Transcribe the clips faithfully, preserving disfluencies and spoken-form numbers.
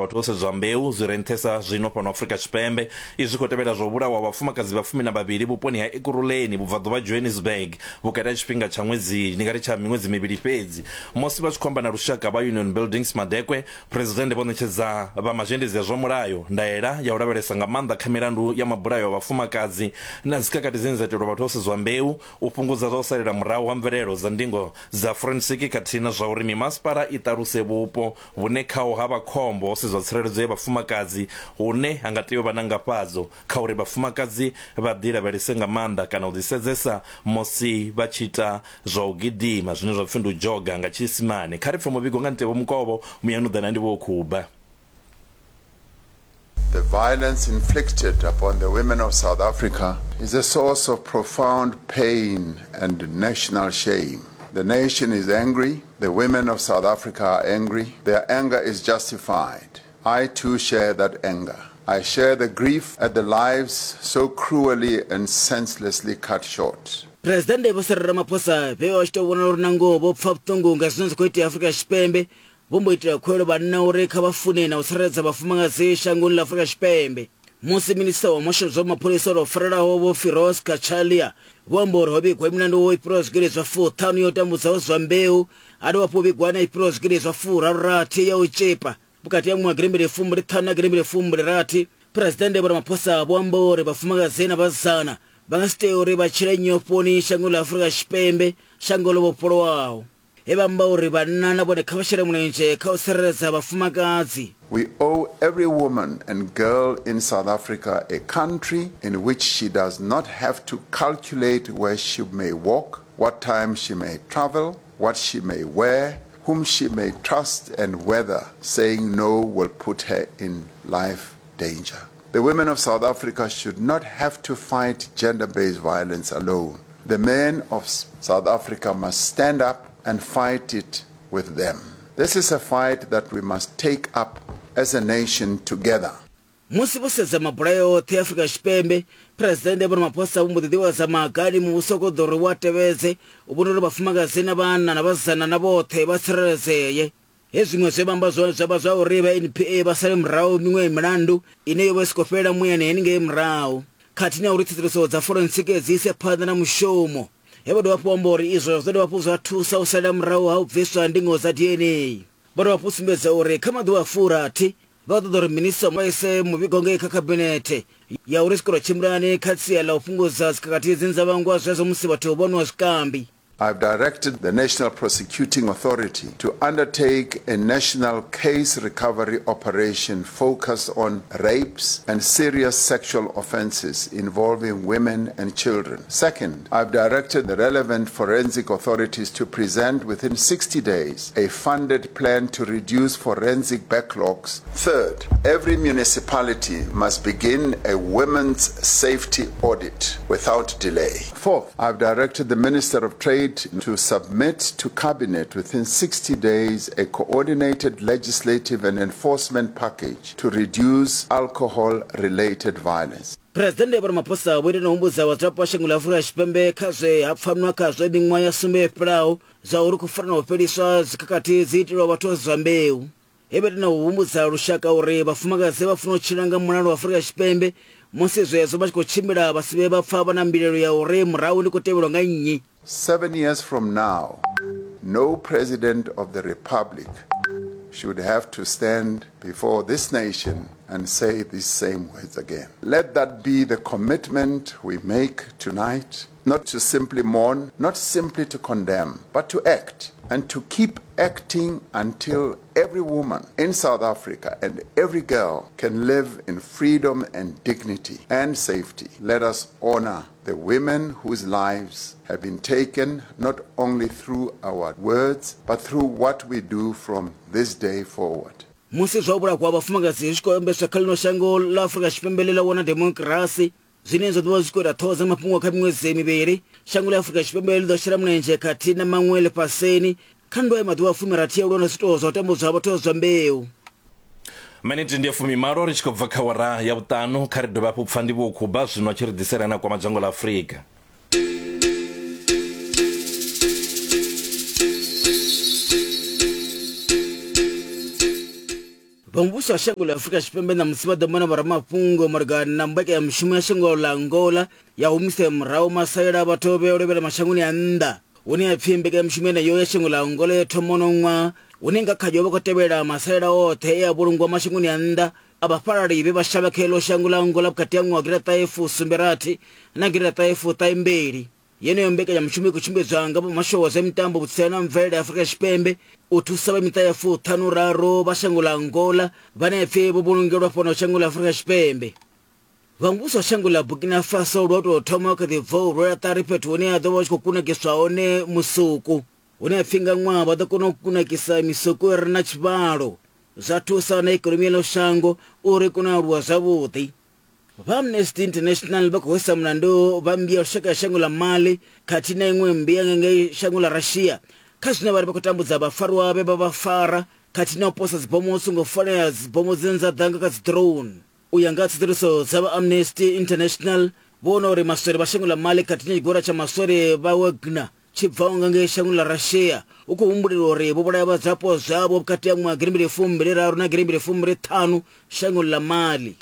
vhathu ho sedzwa mbeu zwi re nṱhesa zwino fhano Afrika Tshipembe. Izwi khou tevhela zwa u vhulawa vhafumakadzi vha fumi na vhavhili vhuponi ha Ekurhuleni vhubvaḓuvha Johannesburg vhukati ha tshifhinga tsha ṅwedzi ndi nga ri tsha miṅwedzi mivhili fhedzi. Musi vha tshi khou amba na lushaka vha Union Buildings Madekwe, Phresidennde vho ṋetshedza vha mazhendedzi a zwa mulayo ndaela ya u lavhelesa nga maanḓa kha milandu ya mabulayo a vhafumakadzi na dzikhakhathi dzine dza itelwa vhathu ho sedzwa mbeu, u fhungudza zwa u salela murahu ha mvelelo dza ndingo dza forensic khathihi na zwa uri mimasipala i ṱaluse vhupo vhune khaho ha vha khombo ho sedzwa tsireledzo ya vhafumakadzi hune ha nga tea u vha na ngafhadzo kha uri vhafumakadzi vha ḓi lavhelese nga maanḓa kana u ḓisedzesa musi vha tshi ita zwa u gidima zwine zwa pfi ndi u dzhoga nga tshiisimane. Kha ri pfe muvhigo nga Ntevho Mukovho, muyani u ḓa na Ndivhuwo Khuba. The violence inflicted upon the women of South Africa is a source of profound pain and national shame. The nation is angry. The women of South Africa are angry. Their anger is justified. I too share that anger. I share the grief at the lives so cruelly and senselessly cut short. Presidennde Vho Cyril Ramaphosa vhe vha tshi tou vhona uri nangoho vho pfa vhuṱungu nga zwine zwa khou itea Afrika Tshipembe, vho mbo itela khuwelelo vhanna uri kha vha fune na u tsireledza vhafumakadzi shangoni ḽa Afrika Tshipembe. Musi minisiṱa wa muhasho zwa mapholisa o farelaho Vho Firoz Cachalia vho amba uri ho vhigwa milandu i fhiraho zwigidi zwa fuṱhanu ya u tambudza zwa mbeu, ha dovha hafhu vhigwa na i fhiraho zwigidi zwa furaru-rathi ya u tshipa vhukati ha ṅwaha gidimbili fumbili ṱhanu na gidimbili fumbili rathi. Phresidennde Vho Ramaphosa vho amba uri vhafumakadzi na vhasidzana vha nga si tee uri vha tshile nyofhoni shangoni ḽa Afrika Tshipembe, shango ḽo vhofholowaho. He vha amba uri vhanna na vhone kha vha shele mulenzhe kha u tsireledza vhafumakadzi. We owe every woman and girl in South Africa a country in which she does not have to calculate where she may walk, what time she may travel, what she may wear, whom she may trust, and whether saying no will put her in life danger. The women of South Africa should not have to fight gender-based violence alone. The men of South Africa must stand up and fight it with them. This is a fight that we must take up as a nation together. Musi vho sedza mabulayo oṱhe Afrika Tshipembe, Phresidennde Vho Ramaphosa vho mbo ḓi ḓivhadza maga ane muvhuso u khou ḓo uri wa tevhedze u vhona uri vhafumakadzi na vhanna na vhasidzana na vhoṱhe vha tsireledzee. He zwiṅwe zwe vha amba zwone zwa vha zwa uri vha N P A vha sale murahu miṅwe milandu ine yo vha i si khou fhela muyani henengei murahu, khathihi na uri tsedzuluso dza forensic dzi ise phanḓa na mushumo. He vha dovha hafhu amba uri izwo zwo dovha hafhu zwa thusa u salela murahu ha u bviswa ndingo dza D N A. Vha dovha hafhu sumbedza uri kha maḓuvha a furathi vha ṱoḓa uri minisiṱa vha ise muvhigo ngei kha khabinethe ya uri zwikolo tshimbilani kha sia ḽa u fhungudza dzikhakhathi dzine dza vhangwa zwezwo musi vhathu vho nwa zwikambi. I've directed the National Prosecuting Authority to undertake a national case recovery operation focused on rapes and serious sexual offences involving women and children. Second, I've directed the relevant forensic authorities to present within sixty days a funded plan to reduce forensic backlogs. Third, every municipality must begin a women's safety audit without delay. Fourth, I've directed the Minister of Trade to submit to Cabinet within sixty days a coordinated legislative and enforcement package to reduce alcohol-related violence. Presidennde Vho Ramaphosa vho ita na u humbudza vhadzulapo vha shango ḽa Afrika Tshipembe kha zwe ha pfanwa khazwo miṅwaha ya sumbe yo fhelaho zwa uri khou fana na u fheliswa dzikhakhathi dzi itelwa vhathu zwa mbeu. He vha ita na u humbudza lushaka uri vhafumakadzi vha funa u tshila nga mulalo wa Afrika Tshipembe musi zwezwo vha tshi khou tshimbila vha si vhe vha pfa vha na mbilaelo ya uri murahu ndi khou tevhelwa nga nnyi. Seven years from now, no president of the republic should have to stand before this nation and say these same words again. Let that be the commitment we make tonight, not to simply mourn, not simply to condemn, but to act and to keep acting until every woman in South Africa and every girl can live in freedom and dignity and safety. Let us honor the women whose lives have been taken not only through our words, but through what we do from this day forward. Musi zwa u vhulahwa vhafumakadzi zwi tshi khou ambeswa kha ḽino shango ḽa Afrika Tshipembe ḽe ḽa wana demokirasi, zwine zwa ḓo vha zwi khou ita ṱhoho dza mafhungo kha miṅwedzi mivhili, shango ḽa Afrika Tshipembe ḽi ḓo shela mulenzhe khathihi na maṅwe ḽifhasini kha nndwa ya maḓuvha a fumirathi ya u lwa na zwiito zwa u tambudzwa ha vhathu zwa mbeu. Miniti ndi ya fumimalo ri tshi khou bva kha awara ya vhuṱanu. Kha ri dovhe hafhu pfa Ndivhuwo Khuba zwino a tshi ri ḓisela na kwama dzhango ḽa Afrika. Vha muvhuso wa shango ḽa Afrika Tshipembe ṋamusi vha ḓo mona vhoramafhungo malugana na mbekanyamushumo ya shango ḽa Angola ya humisela murahu masalela a vhathu vhe lovhela mashangoni a nnḓa, hune ya pfi mbekanyamushumo yeneyo ya shango ḽa Angola yo thoma uno ṅwaha, hune nga khayo vha khou tevhela masalela oṱhe e a vhulungwa mashangoni a nnḓa a vhafhalali vhe vha shavha kha iḽo shango ḽa Angola vhukati ha ṅwaha gidiḓaṱahe fusumbe rathi na gidiḓaṱahe fuṱahe mbili. Yeneyo mbekanyamushumo i khou tshimbidzwa nga vhamasho wa zwa mitambo, vhutsila na mvelele ya Afrika Tshipembe u thusa vha miṱa ya fuṱhanu raru vha shango ḽa Angola vhane pfi vho vhulungelwa fhano shango ḽa Afrika Tshipembe. Vha muvhuso wa shango ḽa Burkina Faso lwa tou thoma kha ḓi bva u rwela ṱari fhethu hune ha ḓo vha hu tshi khou kunakiswa hone musuku, hune ha pfi nga ṅwaha vha ḓo kona u kunakisa misuku i re na tshivhalo, zwa thusa na ikonomi ya ḽo shango uri i kone u aluwa zwavhuḓi. Vha Amnesty International vha khou hwesa mulandu vha mmbi ya lushaka ya shango ḽa Mali khathihi na iṅwe mmbi ya ngei shango ḽa Russia kha zwine vha ri vha khou tambudza vhafarwa vhe vha vha fara khathihi na u posa dzibomo songo fanela, dzibomo dzine dza ḓa nga kha dzi drone. U ya nga tsedzuluso dza vha Amnesty International, vho wana uri maswole vha shango ḽa Mali khathihi na tshigwada tsha maswole vha Wagner tshi bvaho nga ngei shango ḽa Russia hu khou humbulelwa uri vho vhulaya vhadzulapo zwavho vhukati ha ṅwaha gidimbili fumbili raru na gidimbili fumbili ṱhanu shangoni ḽa Mali.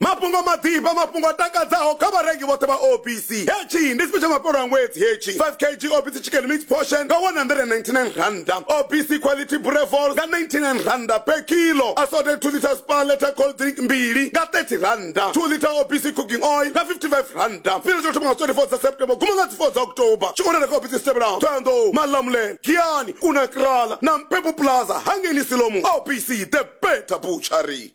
Mafhungo maḓifha, mafhungo a takadzaho kha vharengi vhoṱhe vha O B C. Hetshi ndi tshifhinga tsha mafhelo a ṅwedzi hetshi. five kilogram O B C chicken mix portion nga one hundred and ninety-nine randa. O B C quality brevol nga ninety-nine randa per kilo. Assorted two liter spa liter cold drink mbili nga thirty randa. two liter O B C cooking oil nga fifty-five randa. Fhira tsho thoma nga twenty-four dza September guma nga four dza October. Tshi kha O B C Stebra, Thohoyandou, Malamulele, Giyani, Unakrala na Mpepo Plaza hangeni Silomu. O B C, the better butchery.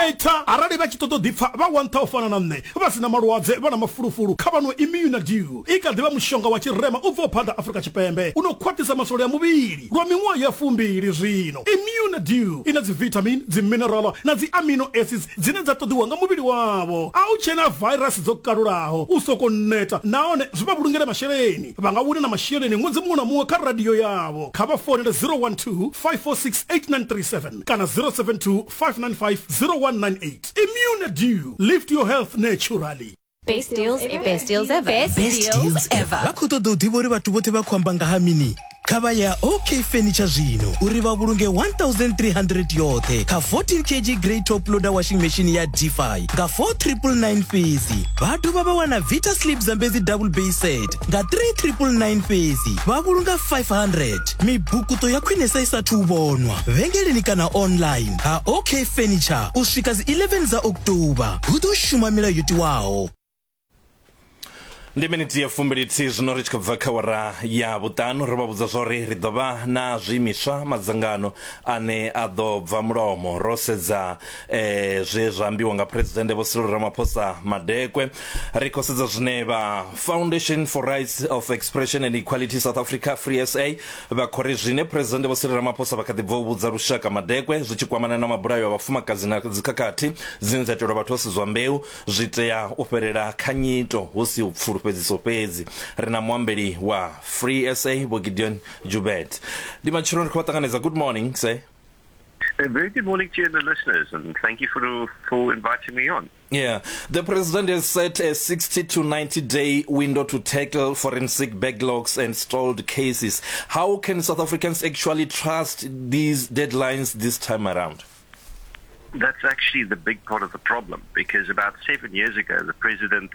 Eta arali vha tshi ṱoḓa u ḓipfa vha wa nṱha u fana na nṋe vha sina malwadze vha na mafulufulu kha vha nwe Immunadew. I kha ḓivha mushonga wa tshirema u bvaho phanḓa Afrika Tshipembe u no khwaṱhisa maswole a muvhili lwa miṅwaha ya fumbili zwino. Immunadew i na dzi vitamin, dzi mineral na dzi amino acids dzine dza ṱoḓiwa nga muvhili wavho. A u tshena virus dzo kalulaho u soko neta nahone zwi vha vhulungela masheleni. Vha nga wina na masheleni ṅwedzi muṅwe na muṅwe kha radio yavho. Kha vha founele zero one two, five four six, eight nine three seven kana zero seven two, five nine five, zero one nine eight. Immunadew, lift your health naturally. Best deals ever. Best deals ever. Best, Best deals ever. Vha khou ṱoḓa u ḓivha uri vhathu vhoṱhe vha khou amba nga ha mini? Kha vha ya OK Furniture zwino uri vha vhulunge one thousand three hundred yoṱhe kha fourteen kilogram grey top loader washing machine ya Defy nga four triple nine fhedzi. Vha dovha vha wana Vita Sleep Zambezi double bay set nga three triple nine fhedzi. Vha vhulunga five hundred. Mibukuto ya khwinesa i sathu u vhonwa vhengeleni kana online ha OK Furniture u swika dzi eleven dza October. Hu ḓo shuma milayo yo tiwaho. Ndi miniti ya fumbili thihi zwino ri tshi khou bva kha awara ya vhuṱanu. Ro vha vhudza zwori ri ḓo vha na zwiimiswa madzangano ane a ḓo bva mulomo ro sedza eh, zwe zwa ambiwa nga Presidennde Vho Cyril Ramaphosa Madekwe. Ri khou sedza zwine vha Foundation for Rights of Expression and Equality South Africa Free S A vha khou ri zwine Presidennde Vho Cyril Ramaphosa vha kha ḓi bva u vhudza lushaka Madekwe zwi tshi kwamana na mabulayo a vhafumakadzi na dzikhakhathi dzine dza itelwa vhathu vho sedzwa mbeu zwi tea u fhelela kha nyito hu si u pfulu fhedziso fhedzi. Ri na muambeli wa Free S A Vho Gideon Joubert. Ndi matsheloni ri khou vha ṱanganedza. Good morning, sir. A very good morning to you and the listeners, and thank you for for inviting me on. Yeah, the president has set a sixty to ninety day window to tackle forensic backlogs and stalled cases. How can South Africans actually trust these deadlines this time around? That's actually the big part of the problem, because about seven years ago, the president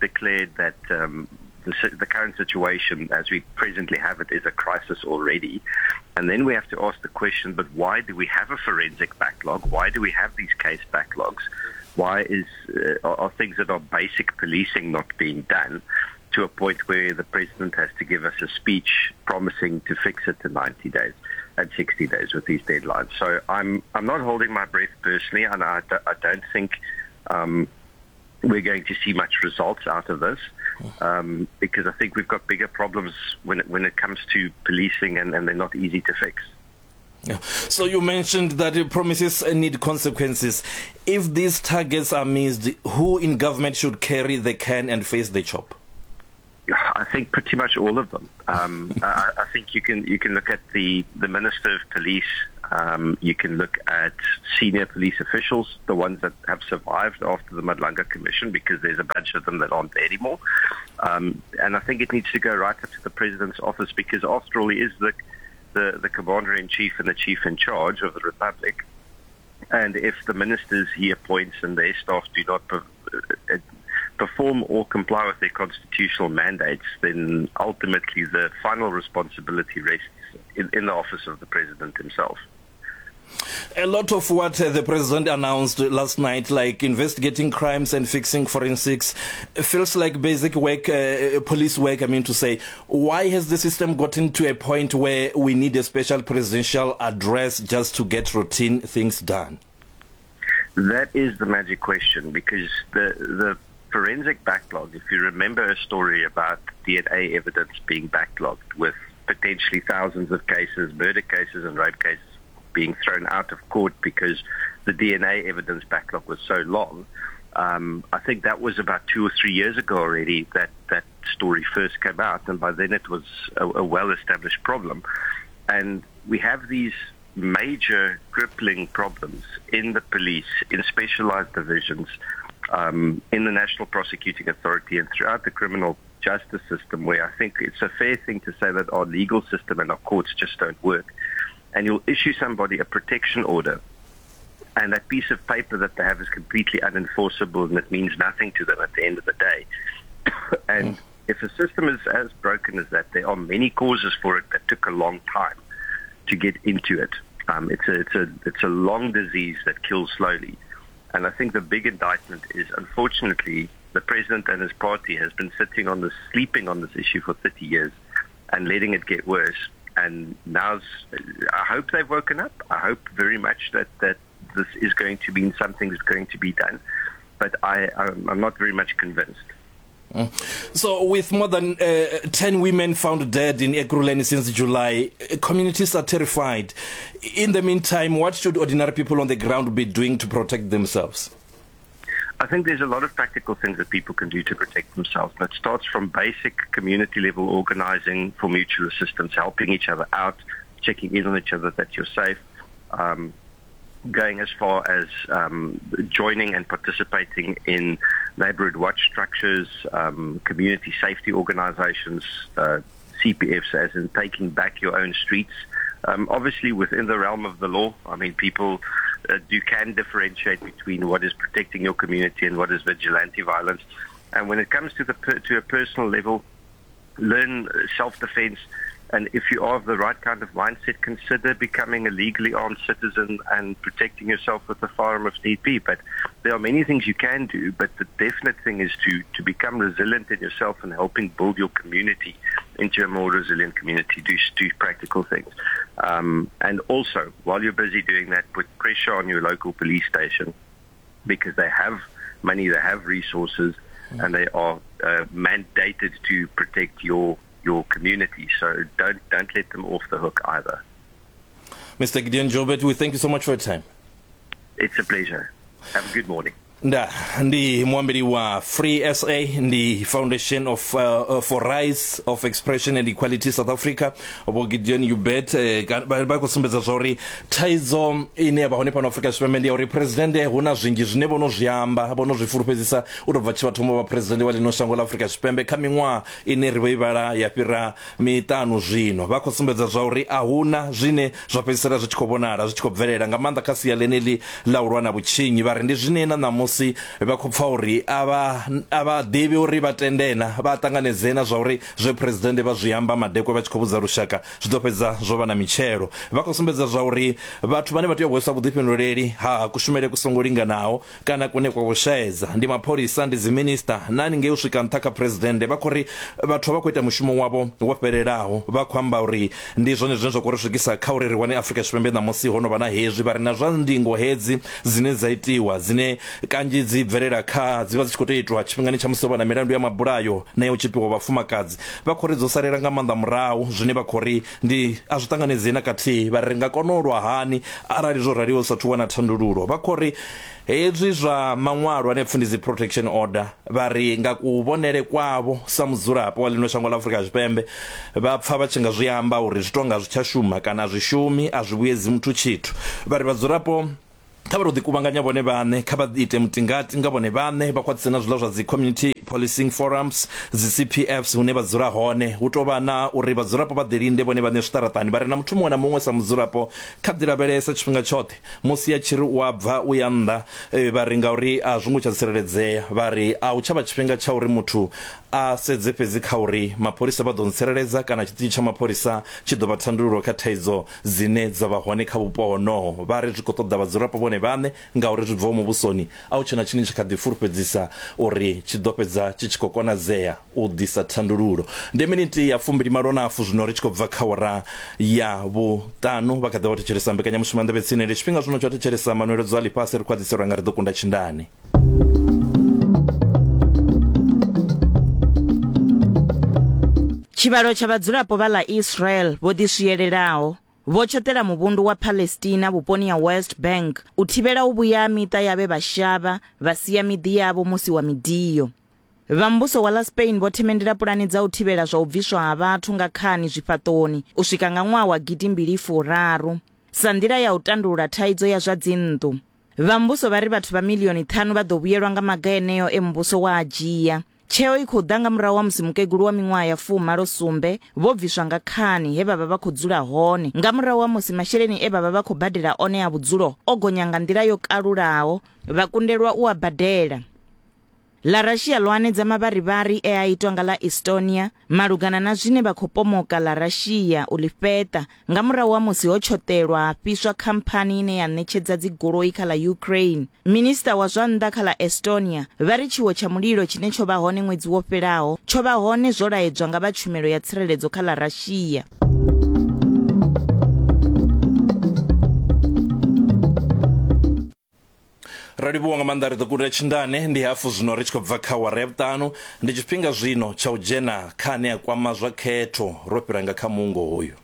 declared that um, the, the current situation as we presently have it is a crisis already. And then we have to ask the question, but why do we have a forensic backlog? Why do we have these case backlogs? Why is uh, are, are things that are basic policing not being done to a point where the president has to give us a speech promising to fix it in ninety days and sixty days with these deadlines? So I'm I'm not holding my breath personally, and I, I don't think um, we're going to see much results out of this, um, because I think we've got bigger problems when it, when it comes to policing, and, and they're not easy to fix. Yeah. So you mentioned that your promises need consequences. If these targets are missed, who in government should carry the can and face the chop? I think pretty much all of them. Um, I, I think you can you can look at the, the Minister of Police, Um, you can look at senior police officials, the ones that have survived after the Madlanga Commission, because there's a bunch of them that aren't there anymore. Um, and I think it needs to go right up to the president's office, because after all, he is the, the, the commander-in-chief and the chief in charge of the republic. And if the ministers he appoints and their staff do not per- perform or comply with their constitutional mandates, then ultimately the final responsibility rests in, in the office of the president himself. A lot of what uh, the president announced last night, like investigating crimes and fixing forensics, feels like basic work, uh, police work, I mean to say. Why has the system gotten to a point where we need a special presidential address just to get routine things done? That is the magic question, because the, the forensic backlog, if you remember a story about D N A evidence being backlogged with potentially thousands of cases, murder cases and rape cases, being thrown out of court because the D N A evidence backlog was so long. Um, I think that was about two or three years ago already that that story first came out, and by then it was a, a well-established problem. And we have these major crippling problems in the police, in specialized divisions, um, in the National Prosecuting Authority, and throughout the criminal justice system, where I think it's a fair thing to say that our legal system and our courts just don't work. And you'll issue somebody a protection order, and that piece of paper that they have is completely unenforceable, and it means nothing to them at the end of the day. And if a system is as broken as that, there are many causes for it that took a long time to get into it. Um, it's a, it's a, it's a long disease that kills slowly. And I think the big indictment is, unfortunately, the president and his party has been sitting on this, sleeping on this issue for thirty years and letting it get worse. And now, I hope they've woken up. I hope very much that, that this is going to be something that's going to be done. But I, I'm, I'm not very much convinced. So with more than uh, ten women found dead in Ekurhuleni since July, communities are terrified. In the meantime, what should ordinary people on the ground be doing to protect themselves? I think there's a lot of practical things that people can do to protect themselves. And it starts from basic community-level organizing for mutual assistance, helping each other out, checking in on each other that you're safe, um, going as far as um, joining and participating in neighborhood watch structures, um, community safety organizations, uh, C P Fs, as in taking back your own streets. Um, obviously, within the realm of the law, I mean, people uh, do can differentiate between what is protecting your community and what is vigilante violence. And when it comes to the per, to a personal level, learn self-defense. And if you are of the right kind of mindset, consider becoming a legally armed citizen and protecting yourself with a firearm if need be. But there are many things you can do, but the definite thing is to, to become resilient in yourself and helping build your community into a more resilient community. Do, do practical things. Um, and also, while you're busy doing that, put pressure on your local police station, because they have money, they have resources, and they are uh, mandated to protect your your community. So don't don't let them off the hook either. Mister Gideon Joubert, we thank you so much for your time. It's a pleasure. Have a good morning. Nda ndi muambeli wa Free S A, ndi Foundation of uh, for Rights of Expression and Equality South Africa, Vho Gideon Joubert, vha khou sumbedza zwa uri thaidzo ine ya vha hone fhano Afrika Tshipembe ndi ya uri president hu na zwinzhi zwine vho no zwi amba, vho no zwi fulufhedzisa u tou bva tshi vha thoma vha president wa ḽino shango ḽa Afrika Tshipembe kha miṅwaha ine ri vho i vhala ya fhira miṱanu zwino. Vha khou sumbedza zwa uri a huna zwine zwa fhedzisela zwi tshi khou vhonala zwi tshi khou bvelela nga maanḓa kha sia ḽeneḽi ḽa u lwa na vhutshinyi. Vha ri ndi zwine na ṋamusi vha khou pfa uri a vha a vha ḓivhi uri vha tendena vha ṱanganedzena zwa uri zwe president vha zwi amba madekwe vha tshi khou vhudza lushaka zwi ḓo fhedza zwo vha na mitshelo. Vha khou sumbedza zwa uri vhathu vhane vha tea u hweswa vhuḓifhinduleli ha kushumele ku songo linganaho kana kune kwa vhushaedza ndi mapholisa, ndi dziminista na haningei u swika nṱha kha president. Vha khou ri vhathu vha khou ita mushumo wavho wo fhelelaho, vha khou amba uri ndi zwone zwine zwa khou ri swikisa kha uri ri wane Afrika Tshipembe ṋamusi ho no vha na hezwi. Vha ri na zwa ndingo hedzi dzine dza itiwa dzine kanzhi dzi bvelela kha dzi vha dzi tshi khou tou itwa tshifhingani tsha musi ho vha na milandu ya mabulayo na ya u tshipiwa vhafumakadzi. Vha khou ri dzo salela nga maanḓa murahu, zwine vha khou ri ndi a zwi ṱanganedzei na kathihi. Vha ri nga kona u lwa hani arali zwo raliho sathu wana thandululo. Vha khou ri hezwi zwa maṅwalo ane pfhi ndi dzi protection order, vha ri nga kuvhonele kwavho sa mudzulapo wa ḽino shango ḽa Afrika Tshipembe vha pfha vha tshi nga zwi amba uri zwi tonga zwi tsha shuma kana zwi shumi, a zwi vhuyedzi muthu tshithu. Vha ri vhadzulapo kha vha ro ḓikuvhanganya vhone vhaṋe, kha vha ite mutingati nga vhone vhaṋe, vha khwaṱhise na zwiḽa zwa dzi community policing forums, dzi C P Fs hune vha dzula hone. Hu tou vha na uri vhadzulapo vha ḓilinde vhone vhaṋe zwiṱaraṱani. Vha re na muthu muṅwe na muṅwe sa mudzulapo kha ḓi lavhelesa tshifhinga tshoṱhe musi a tshi ri u a bva u ya nnḓa, vha ri ngauri a zwo ngo tsha tsireledzea. Vha ri a hu tsha vha tshifhinga tsha uri muthu a sedze fhedzi kha uri mapholisa vha ḓo ntsireledza kana tshiṱitshi tsha mapholisa tshi ḓo vha thandululo kha thaidzo dzine dza vha hone kha vhupo honoho. Vha ri zwi khou ṱoḓa vhadzulapo vhone vhaṋe ngauri zwi bvaho muvhusoni a hu tshena tshine tshi kha ḓi fulufhedzisa uri tshi ḓo fhedza tshi tshi khou konadzea u ḓisa thandululo. Ndi miniti ya fumbili malo na hafu zwino ri tshi khou bva kha awara ya vhuṱanu. Vha kha ḓi vha thetshelesa mbekanyamushumo ya Nḓevhe Tsini. Ndi tshifhinga zwino tsha u thetshelesa manweledzo a ḽifhasi, ri khwaṱhiselwa nga ri ḓo kunda tshindani. Tshivhalo tsha vhadzulapo vha ḽa Israel vho ḓiswielelaho vho tshoṱela muvhundu wa Palestina vhuponi ha West Bank u thivhela u vhuya miṱa ya vhe vha shavha vha sia miḓi yavho musi wa midio. Vha muvhuso wa ḽa Spain vho themendela pulani dza u thivhela zwa u bviswa ha vhathu nga khani zwifhaṱoni u swika nga ṅwaha wa gidi mbili furaru sa nḓila ya u tandulula thaidzo ya zwa dzinnḓu. Vha muvhuso vha ri vhathu vha milioni ṱhanu vha ḓo vhuyelwa nga maga eneo e muvhuso wa a dzhia. Tsheo i khou ḓa nga murahu ha musi mukegulu wa miṅwaha ya fumalo sumbe vho bviswa nga khani he vha vha vha khou dzula hone nga murahu ha musi masheleni e vha vha vha khou badela one a vhudzulo o gonya nga nḓila yo kalulaho vha kundelwa u a badela. Ḽa Russia ḽo hanedza mavharivhari e a itwa nga ḽa Estonia malugana na zwine vha khou pomoka ḽa Russia u ḽi fheṱa nga murahu ha musi ho tshoṱelwa ha fhiswa khamphani ine ya ṋetshedza dzigoloi kha ḽa Ukraine. Minista wa zwa nnḓa kha ḽa Estonia vha ri tshiwo tsha mulilo tshine tsho vha hone ṅwedzi wo fhelaho tsho vha hone zwo laedzwa nga vha tshumelo ya tsireledzo kha ḽa Russia. Ra livhuwa nga maanḓa, ri ḓo kunda tshindane. Ndi hafu zwino ri tshi khou bva kha awara ya vhuṱanu. Ndi tshifhinga zwino tsha u dzhena kha ane a kwama zwa khetho. Ro fhira nga kha muungo hoyu.